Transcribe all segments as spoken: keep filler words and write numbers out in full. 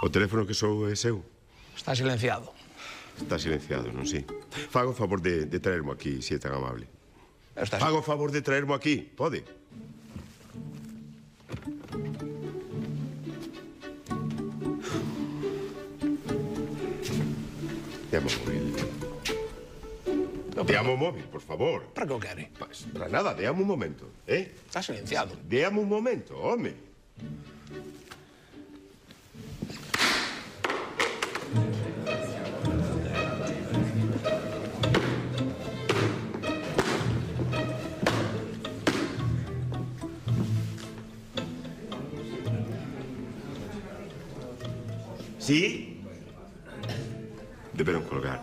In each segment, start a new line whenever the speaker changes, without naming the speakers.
O teléfono que sou é seu?
Está silenciado.
Está silenciado, non si? Fago o favor de, de traermo aquí, se é tan amable.
Está...
Fago o favor de traermo aquí, pode? Deamo o móvil. Deamo o móvil, por favor.
Para que o quere?
Pues, para nada, deamo un momento, eh?
Está silenciado.
Deamo un momento, home. ¿Sí? Deberon colgar.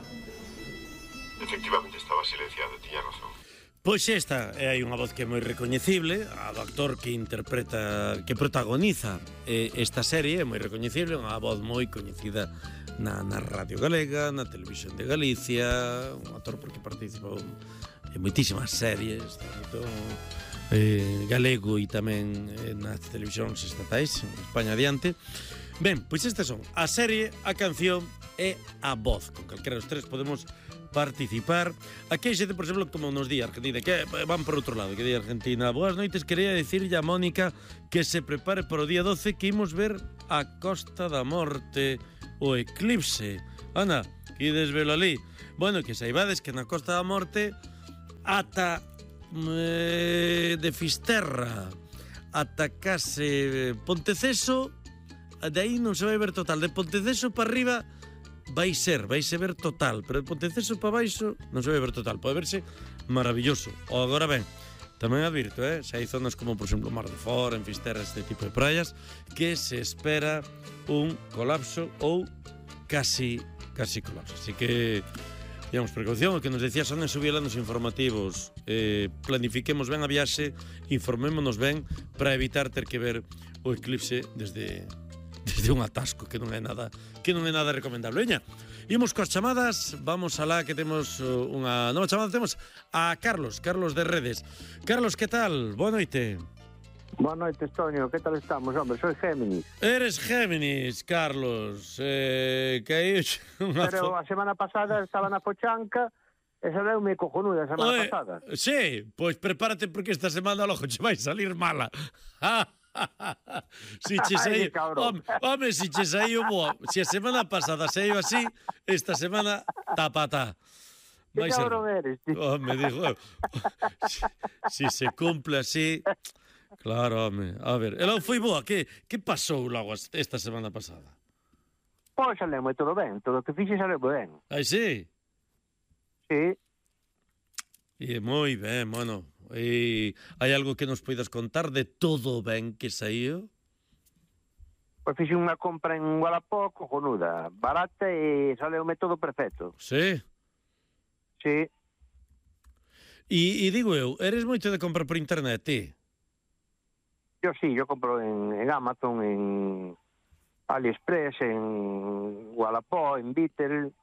Efectivamente estaba silenciado, tiña razón.
Pois esta é hai unha voz que é moi recoñecible, a do actor que interpreta, que protagoniza eh, esta serie, é moi recoñecible, unha voz moi coñecida na, na Radio Galega, na Televisión de Galicia, un actor porque participou en moitísimas series, tanto eh, galego e tamén eh, nas televisións estatais, en España adiante. Ben, pois estas son a serie, a canción e a voz. Con calquera dos tres podemos participar. Aquí hai xente, por exemplo, como nos di Argentina, que van por outro lado, que di Argentina. Boas noites, quería dicirlle a Mónica que se prepare para o día doce, que imos ver a Costa da Morte, o eclipse. Ana, que desvelo ali. Bueno, que saibades que na Costa da Morte ata eh, de Fisterra ata case Ponteceso, de aí non se vai ver total. De Ponteceso para arriba vai ser, vai se ver total, pero de Ponteceso para baixo non se vai ver total. Pode verse maravilloso. O agora ben, tamén advirto, eh, se hai zonas como, por exemplo, Mar de Fora, en Fisterra, este tipo de praias, que se espera un colapso ou casi, casi colapso. Así que, digamos, precaución, o que nos decía Sonia Subiela nos informativos, eh, planifiquemos ben a viaxe, informémonos ben para evitar ter que ver o eclipse desde... desde un atasco, que non é nada que non é nada recomendable. Veña, imos coas chamadas, vamos alá que temos unha nova chamada, temos a Carlos, Carlos de Redes. Carlos, que tal? Boa noite.
Boa noite, Estonio, que tal estamos, hombre? Soy Géminis.
Eres Géminis, Carlos. Eh, que aí unha
Pero
fo...
a semana pasada estaba na Pochanca e saleume cojonuda a semana
Oe,
pasada.
Sí, pois prepárate porque esta semana logo che vai salir mala. Si che saiu, home, home, si che saiu boa. Si a semana pasada saiu así, esta semana tapatá.
Que cabrón eres, tío.
Home, dijo, si, si se cumple así, claro, home. A ver, ela foi boa, que que pasou logo esta semana pasada?
Pois saleume todo ben, todo o que fixe saleume ben.
Ai, sí?
Sí.
E moi ben, bueno. E hai algo que nos poidas contar de todo ben que saíu?
Pois fixe unha compra en Wallapop cojonuda, barata e saleume todo perfecto.
Sí?
Sí.
E, e digo eu, eres moito de comprar por internet, ti?
Yo sí, yo compro en, en Amazon, en AliExpress, en Wallapop, en Bitter.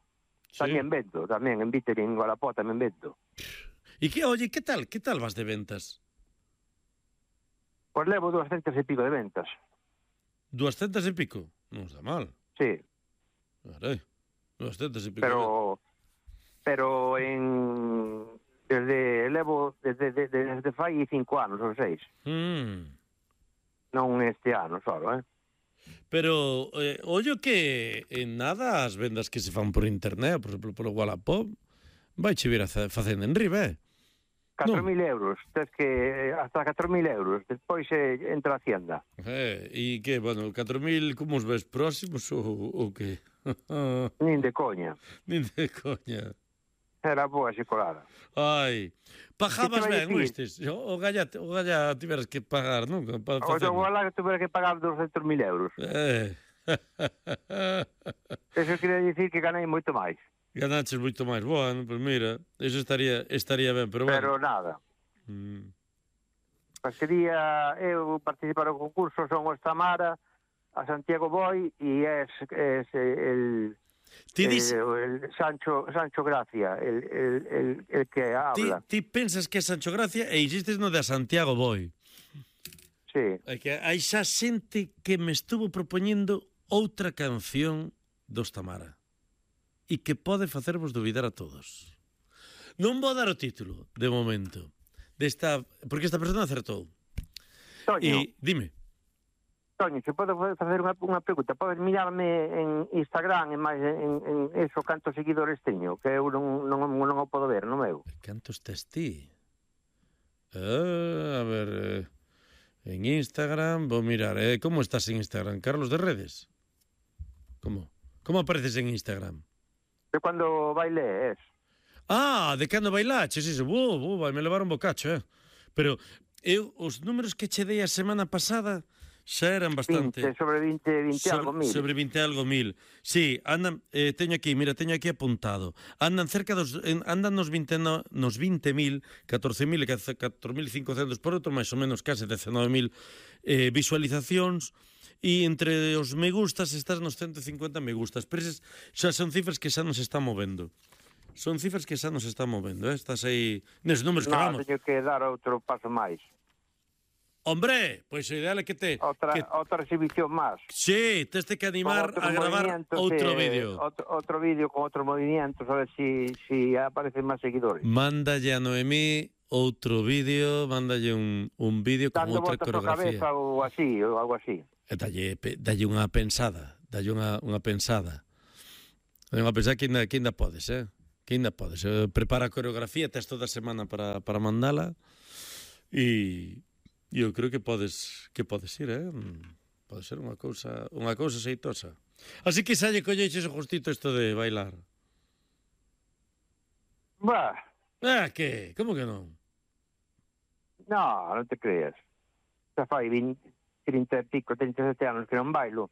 Sí.
Tamén vendo, tamén en Bitter e en Wallapop tamén vendo.
E que, oye, que tal? Que tal vas de ventas?
Pois levo doscientas e pico de ventas.
Duascentas e pico? Non está mal.
Sí.
Carai, duascentas e pico.
Pero pero en desde levo desde desde, desde fai cinco anos ou seis.
Mm.
Non este ano solo, eh.
Pero, eh, ollo que en nada as vendas que se fan por internet, por exemplo, polo Wallapop, vai che vir a facendo en riba, eh?
catro mil euros, tes que hasta catro mil euros, despois eh, entra a Hacienda.
Eh, e que, bueno, catro mil como os ves próximos ou, ou que?
Nin de coña.
Nin de coña.
Era boa xicolada.
Ai, pagabas ben,
decir?
oístes? O galla, o galla tiveras que pagar, non? Para
O
facer.
seu gala que tuvera que pagar doscientos mil euros.
Eh.
Eso quería dicir que ganei moito máis.
Ganaches moito máis. Bueno, pois mira, eso estaría estaría ben, pero bueno.
Pero nada.
Mm.
Pois quería eu participar no concurso, son o Estamara, a Santiago Boi e es, es el,
Ti dis...
el, el Sancho, Sancho Gracia, el, el, el, el que habla.
Ti, ti pensas que é Sancho Gracia e insistes no de Santiago Boi.
Sí.
É que hai xa xente que me estuvo propoñendo outra canción dos Tamara e que pode facervos dubidar a todos. Non vou dar o título, de momento, desta, porque esta persona acertou.
Toño,
E, dime.
Toño, se podo facer unha, unha pregunta, podes mirarme en Instagram e máis en, en eso cantos seguidores teño, que eu non, non, non o podo ver, non meu.
Cantos tes ti? Ah, a ver, eh, en Instagram, vou mirar, eh, como estás en Instagram? Carlos de Redes? Como? Como apareces en Instagram?
De cando baile es.
Ah, de cando bailaches, iso, uh, uh, vai me levar un bocacho, eh. Pero eu, os números que che dei a semana pasada xa eran bastante...
vinte, sobre vinte, vinte
sobre,
algo mil.
Sobre vinte algo mil. Sí, andan, eh, teño aquí, mira, teño aquí apuntado. Andan cerca dos, en, andan nos vinte, no, nos vinte mil, catorce mil e catro mil cincocentos por outro, máis ou menos case dezenove mil eh, visualizacións. E entre os me gustas estás nos ciento cincuenta me gustas. Pero eses xa son cifras que xa nos están movendo. Son cifras que xa nos están movendo, eh? Estás aí neses números que
No,
vamos.
teño que dar outro paso máis.
Hombre, pois o ideal é que te...
Outra,
que,
outra exhibición máis.
sí, tes que animar
Con outros
a gravar
movimientos,
outro
eh,
vídeo.
Outro, outro vídeo con outros movimientos, a ver si, si aparecen máis seguidores.
Mándalle a Noemí outro vídeo, mándalle un, un vídeo con
Dando
outra
voltas á
coreografía.
cabeza ou así, ou algo así.
E dalle, pe- dalle unha pensada, dalle unha, unha pensada. Dalle unha pensada que ainda, que ainda podes, eh? Que ainda podes. Eh, prepara a coreografía, tes toda a semana para, para mandala e eu creo que podes que podes ir, eh? Pode ser unha cousa, unha cousa xeitosa. Así que xa lle colleches o justito isto de bailar.
Bah,
Ah, que? Como que non?
no, non te creas. Xa fai vinte, trinta e pico, trinta e sete anos que non bailo.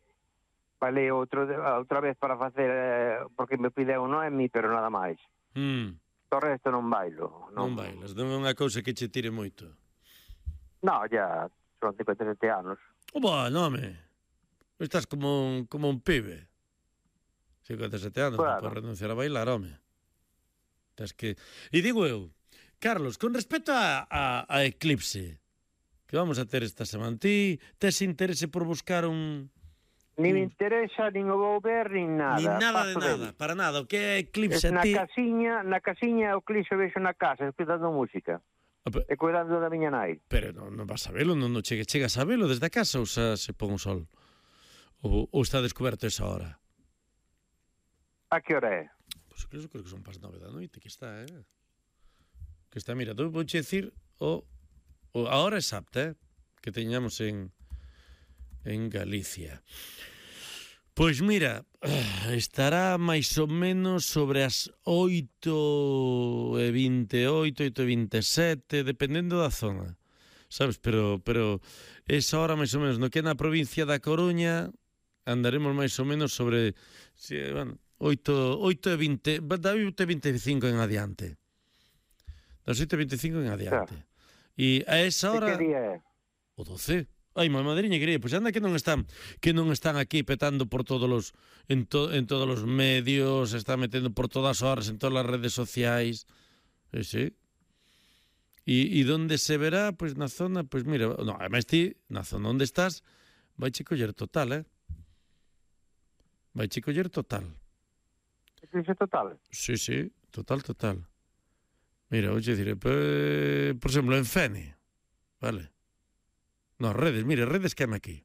Bailei outro, outra vez para facer, eh, porque me pideu Noemi, pero nada máis.
Mm,
O resto non bailo.
non bailas, non é unha cousa que che tire moito.
No, ya son cincuenta e sete anos.
Oh, bueno, home. Estás como un, como un pibe. cincuenta e sete anos,
Claro.
non podes renunciar a bailar, home. Tens que... E digo eu, Carlos, con respecto a, a, a Eclipse, que vamos a ter esta semana, ti tes interese por buscar un...
Ni me interesa, nin o vou ver, nin nada.
Ni nada de
Paso
nada,
del.
para nada. O que é Eclipse
Es
a
na
ti...
casiña, na casiña o clixo vexo na casa, escutando música.
Ah, pe-
E cuidando da miña nai.
Pero non, non vas a velo, non, non chegue, chegas a velo desde a casa ou xa se pon o sol? Ou, ou está descoberto esa hora?
A que hora é?
Pois pues, creo que son pas nove da noite que está, eh? Que está, mira, tú vou che dicir o, o a hora exacta, eh? Que teñamos en en Galicia. Pois mira, estará máis ou menos sobre as oito e vinte e oito, oito e vinte e sete, dependendo da zona, sabes? Pero, pero esa hora máis ou menos, no que é na provincia da Coruña, andaremos máis ou menos sobre, si, bueno, oito, oito e vinte, da oito e vinte e cinco en adiante. Das oito e vinte e cinco en adiante. E a esa hora...
E que día é?
O doce. Ai, má madriña querida, pois anda que non están que non están aquí petando por todos os en, to, en todos os medios, se están metendo por todas horas en todas as redes sociais. E sí. E, e donde se verá, pois na zona, pois mira, no, además ti, na zona onde estás, vai che coller total, eh? Vai che coller total.
Eclipse total?
Sí, sí, total, total. Mira, vou che dicir, por, por exemplo, en Fene, vale? No, redes, mire, redes que me aquí.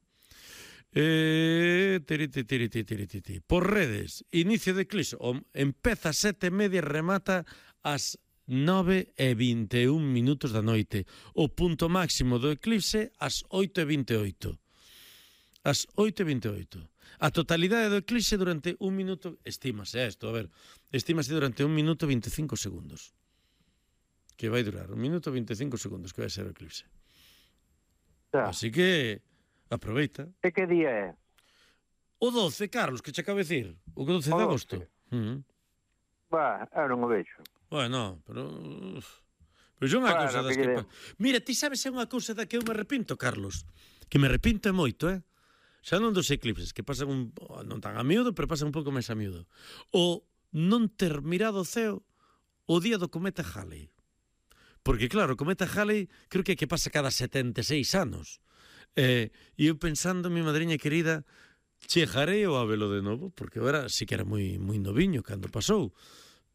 Eh, tiri, tiri, tiri, tiri, tiri. Por redes, inicio de eclipse, o, empeza a sete e media e remata ás nove e vinte e un minutos da noite. O punto máximo do eclipse ás oito e vinte e oito. Ás oito e vinte e oito. A totalidade do eclipse durante un minuto, estímase isto, a ver, estímase durante un minuto e vinte e cinco segundos. Que vai durar, un minuto e vinte e cinco segundos que vai ser o eclipse.
Xa.
Así que aproveita.
E que día é?
O doce, Carlos, que che acabo de decir. O doce de
O
agosto.
doce.
Uh -huh.
Bah, eu non o vexo.
Bueno, pero... Pois é unha
Bueno,
cousa das
que
que...
lle
Pa... Mira, ti sabes é unha cousa da que eu me arrepinto, Carlos. Que me arrepinto é moito, eh? Xa non dos eclipses, que pasan un... non tan a miúdo, pero pasan un pouco máis a miúdo. O non ter mirado o ceo o día do cometa Halley. Porque, claro, o cometa Halley creo que é que pasa cada setenta e seis anos. Eh, e eu pensando, mi madriña querida, chegarei a velo de novo, porque eu era, sí que era moi, moi noviño cando pasou,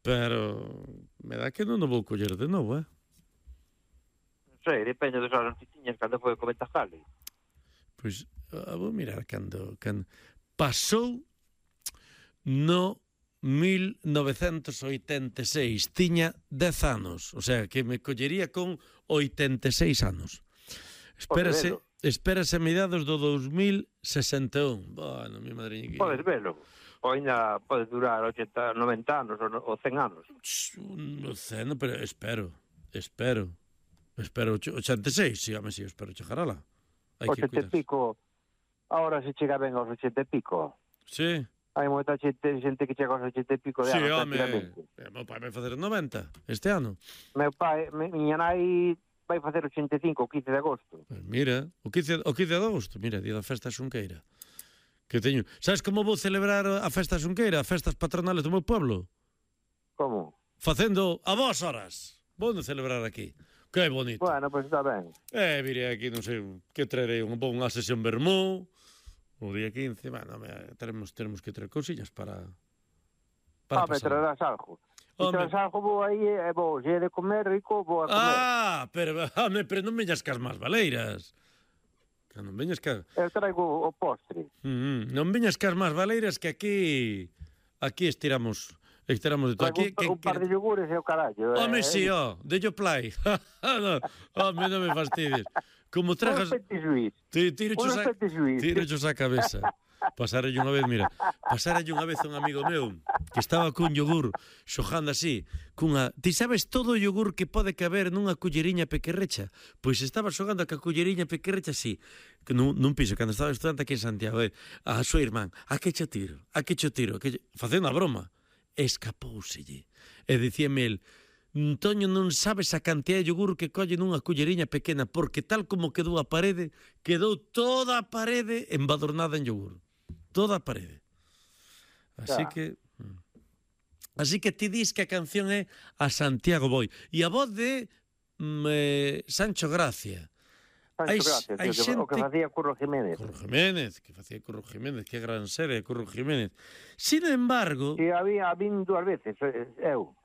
pero me dá que non o vou coller de novo, eh?
Non sei, depende dos anos que tiñas cando foi co Ventajale.
Pois, ah, vou mirar cando, cando... Pasou no mil novecentos oitenta e seis, tiña dez anos, o sea, que me collería con oitenta e seis anos. Espérase, espérase a mediados do dos mil sesenta e un. Bueno, mi madriña que...
Podes velo. Ou ainda pode durar ochenta, noventa anos ou, ou cen anos.
Non sei, no, pero espero, espero. Espero ochenta e seis, sí, home, sí, espero chegar a lá. Hai que
ochenta e
cuidar.
pico, ahora se chega ben aos ochenta e pico.
Sí.
Hai moita xente, xente que chega aos ochenta e pico de
Sí,
anos,
home,
tranquilamente.
eh, meu pai vai facer noventa este ano.
Meu pai, mi, miña nai vai facer ochenta e cinco o quince de agosto.
Pues mira, o quince, o quince de agosto, mira, día da festa xunqueira. Que teño. Sabes como vou celebrar a festa xunqueira, as festas patronales do meu pueblo?
Como?
Facendo a vos horas. Vou celebrar aquí. Que bonito.
Bueno, pois pues está ben.
Eh, virei aquí, non sei, que traerei un unha sesión vermú. O día quince, bueno, me, teremos, teremos que traer cousillas para... para
Ah, me
pasar.
traerás algo. Se
Home.
traerás algo, vou aí, e vou, se é de comer rico, vou a comer.
Ah, pero, home, pero non veñas cas más valeiras. Que non veñas cas...
Eu traigo o postre.
Mm, non veñas cas más valeiras que aquí... Aquí estiramos... Estiramos de todo.
Traigo
Aquí,
un,
que,
un par de yogures e o carallo.
Home,
eh,
si, ó, de yo play. No, home, non me fastidies. Como trajas...
Un petit suisse.
Ti- Tiro
Un
a,
petit suisse.
tiro a cabeza. Pasarelle unha vez, mira, pasarelle unha vez a un amigo meu que estaba cun yogur xojando así, cunha, ti sabes todo o yogur que pode caber nunha culleriña pequerrecha? Pois estaba xogando ca culleriña pequerrecha así, que nun, nun piso, cando estaba estudante aquí en Santiago, eh, a súa irmán, a que cho tiro, a que cho tiro, a que cho... facendo a broma, escapouselle, e dicíame el, Toño, non sabes a cantidad de yogur que colle nunha culleriña pequena, porque tal como quedou a parede, quedou toda a parede embadornada en yogur. Toda a parede. Así
Ya.
que... Así que ti dis que a canción é a Santiago Boi. E a voz de mm, eh, Sancho Gracia.
Sancho
Hai-
Gracia,
hai
tío, que, o que
xente-
facía Curro Jiménez.
Curro Jiménez, que facía Curro Jiménez, que gran serie, Curro Jiménez. Sin embargo...
E había, vin dúas veces, eh, eu.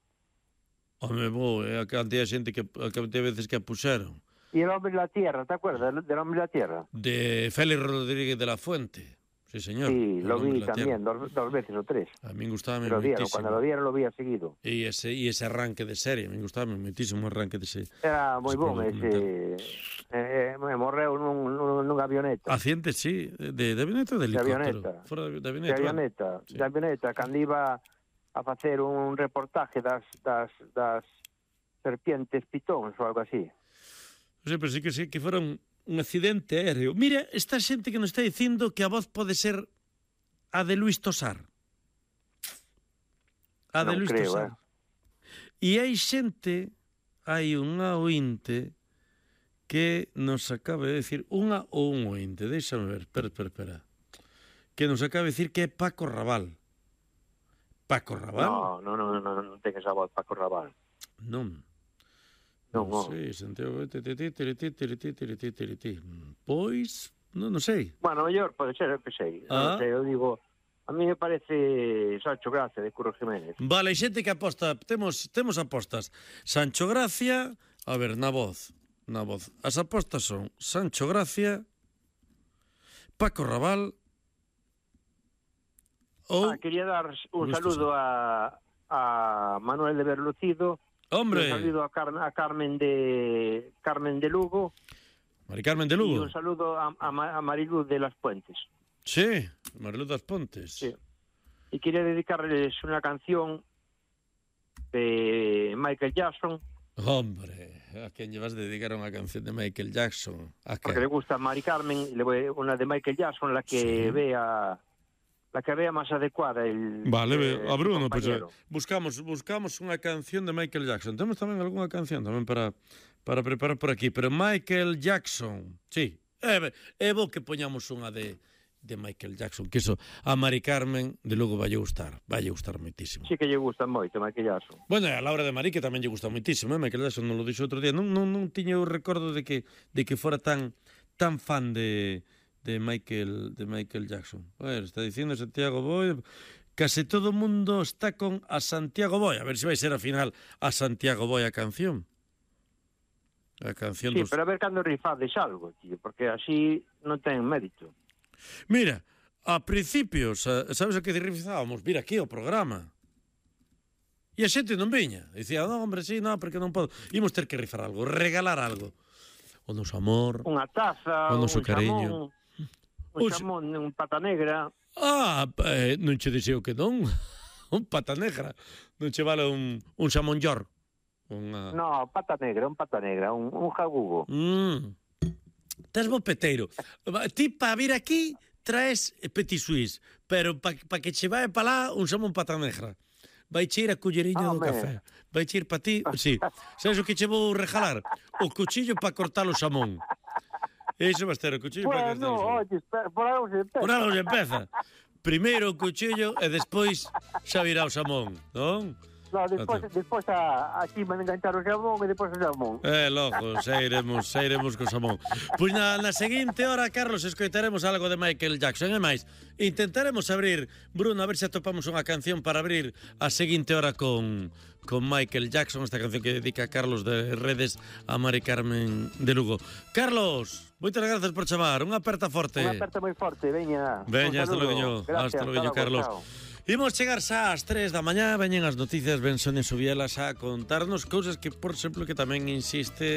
Home, bo, é a cantidad de xente que a cantidad de veces que a puxeron.
E El Hombre de la Tierra, ¿te acuerdas del Hombre de la Tierra?
De Félix Rodríguez de la Fuente. Sí, señor.
Sí,
El
lo
hombre
vi
de la
también,
tierra.
dos, dos veces o tres.
A mí gustaba
Lo dieron,
muchísimo.
cuando lo dieron lo había seguido.
E ese, e ese arranque de serie, a mí gustaba muchísimo o arranque de serie.
Era moi
Ese
bom
documental.
ese... Eh, eh, morreu nun, nun, nunha avioneta.
Accidente, sí, de, de avioneta ou de
De
helicóptero.
avioneta.
Fora de, de
De
avioneta. bueno.
avioneta,
Sí.
de avioneta, cando iba a facer un reportaje das, das, das serpientes pitóns ou algo así.
Sí, pero sí que sí, que fora un, un accidente aéreo. Mira, esta xente que nos está dicindo que a voz pode ser a de Luis Tosar. A de
Non
Luis
creo,
Tosar. E hai xente, hai unha ointe que nos acaba de decir, unha ou un ointe, déxame ver, espera, espera, espera, que nos acaba de decir que é Paco Raval. Paco Raval?
No, no, no, no, non ten esa voz Paco Raval.
Non.
Non,
Non
non.
sei, Santiago, tereti, tereti, tereti, tereti, tereti. Pois, non, non sei.
Bueno, mellor pode ser, eu que sei.
Ah.
Non sei, eu digo, a mí me parece Sancho Gracia de Curro Jiménez.
Vale, xente que aposta, temos temos apostas. Sancho Gracia, a ver, na voz, na voz. As apostas son Sancho Gracia, Paco Raval ou
Ah, quería dar un
Luis
saludo a, a Manuel de Berlucido,
Hombre,
un saludo a, Car a Carmen de Carmen de Lugo
Mari Carmen de
y
Lugo.
un saludo a, a, Ma- a Mariluz de las Puentes.
Sí, Mariluz das Pontes.
Sí. Y quería dedicarles una canción de Michael Jackson,
Hombre, a quen lle vas dedicar unha canción de Michael Jackson? A
porque le
que?
gusta a Mari Carmen, y le voy una de Michael Jackson, la que
Sí.
vea la que vea más adecuada el
Vale,
eh,
ve, a Bruno,
el
pues, eh,
compañero.
buscamos buscamos unha canción de Michael Jackson. Temos tamén algunha canción tamén para para preparar por aquí, pero Michael Jackson. Sí, é, é bo que poñamos unha de de Michael Jackson, que eso a Mari Carmen de logo vai gustar, vai gustar moitísimo.
Sí que lle gusta moito Michael Jackson.
Bueno, e a Laura de Marí que tamén lle gusta moitísimo, eh? Michael Jackson non lo dixo outro día. Non, non, non tiña o recordo de que de que fora tan tan fan de de Michael de Michael Jackson. Bueno, está dicindo Santiago Boi, case todo o mundo está con a Santiago Boi. A ver se vai ser ao final a Santiago Boi a canción. A canción
Sí,
dos...
pero a ver cando rifades algo, tío, porque así non ten mérito.
Mira, a principios, sabes a que rizábamos? Vir aquí ao programa. E a xente non viña. Dicía, non, hombre, sí, non, porque non podo. Imos ter que rifar algo, regalar algo. O noso amor,
Unha taza,
o noso
un
cariño.
xamón, un xamón, un pata negra.
Ah, eh, non che dixeo que non. Un pata negra. Non che vale un, un xamón york. Unha...
No, pata negra, un pata negra, un, un jagugo.
Mm. Tes bo peteiro. Ti pa vir aquí traes petit suisse, pero pa, pa que che vai pa lá un xamón pata negra. Vai che ir a culleriña
Ah,
do
me.
café. Vai che ir pa ti, sí. Sabes o que che vou regalar? O cuchillo pa cortar o xamón. Iso vai ter o cuchillo pa cortar
Bueno,
o xamón.
oye, espera, por algo se empeza.
Por algo se empeza. Primeiro o cuchillo e despois xa virá o xamón, non?
No, despois, despois a, aquí me enganchar o xamón e despois o xamón.
Eh, logo, xa iremos, xa iremos co xamón. Pois na, na seguinte hora, Carlos, escoitaremos algo de Michael Jackson. E máis, intentaremos abrir, Bruno, a ver se atopamos unha canción para abrir a seguinte hora con, con Michael Jackson, esta canción que dedica Carlos de Redes a Mari Carmen de Lugo. Carlos, moitas grazas por chamar, unha aperta forte.
Unha aperta moi forte, veña.
Veña,
Un
hasta
saludo.
logo,
Gracias,
hasta logo,
logo,
Carlos.
chao.
Imos chegar xa ás tres da mañá, veñen as noticias, ven Sonia Subielas a contarnos cousas que, por exemplo, que tamén insiste